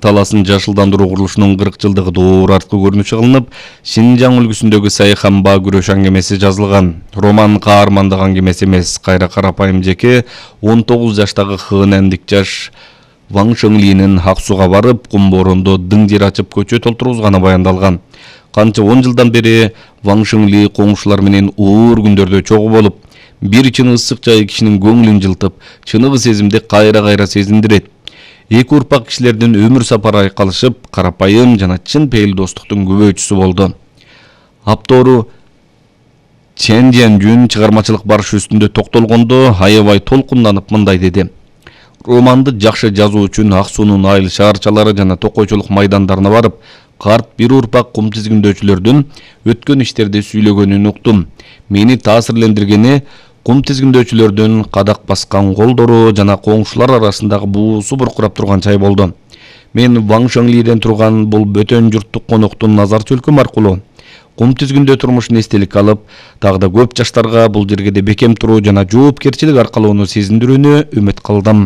таласын жашылдандыруу курулушунун 40 жылдыгы доор арткы көрүнүшү кылынып, Шинжаң үлгүсүндөгү Сайханба күрөш аңгемеси жазылган. Роман каармандык аңгемеси эмес, кайра карапайым жеке 19 жаштагы хынендик жаш Ваң Шөңлинин Ак Сууга барып, кум борондо дың жер ачып көчө толтургузганы баяндалган. Канча 10 жылдан бери Ваң Шөңли коңшулар менен оор күндөрдө чогуу болуп, бир чыны ысык жай кишинин көңүлүн жылтып, чыныгы сезимди кайра сезиндирет. Эки урпак кишилердин өмүр сапары айкалышып, карапайым жана чын пейил достуктун күбөчүсү болду. Аптору Чен Жен-жүн чыгармачылык барышы үстүндө токтолгондо аябай толкунданып мындай деди. Романды жакшы жазуу үчүн Ак суунун айыл шаарчалары жана токойчулук майдандарына барып, карт бир урпак кум тизгиндөөчүлөрдүн өткөн иштерди сүйлөгөнүн уктум. Мени таасирлендиргени кум тизгиндөөчүлөрдүн кадак баскан колдору жана коңшулар арасындагы буусу буркурап турган чай болду. Мен Ваң Шөңлиден турган бул бөтөн журттук коноктун назар чөлкөм аркылуу кум тизгиндөө турмушун эстелик алып, дагы да көп жаштарга бул жергеде бекем туруу жана жоопкерчилик аркалоону сезиндирүүнү үмүт кылдым.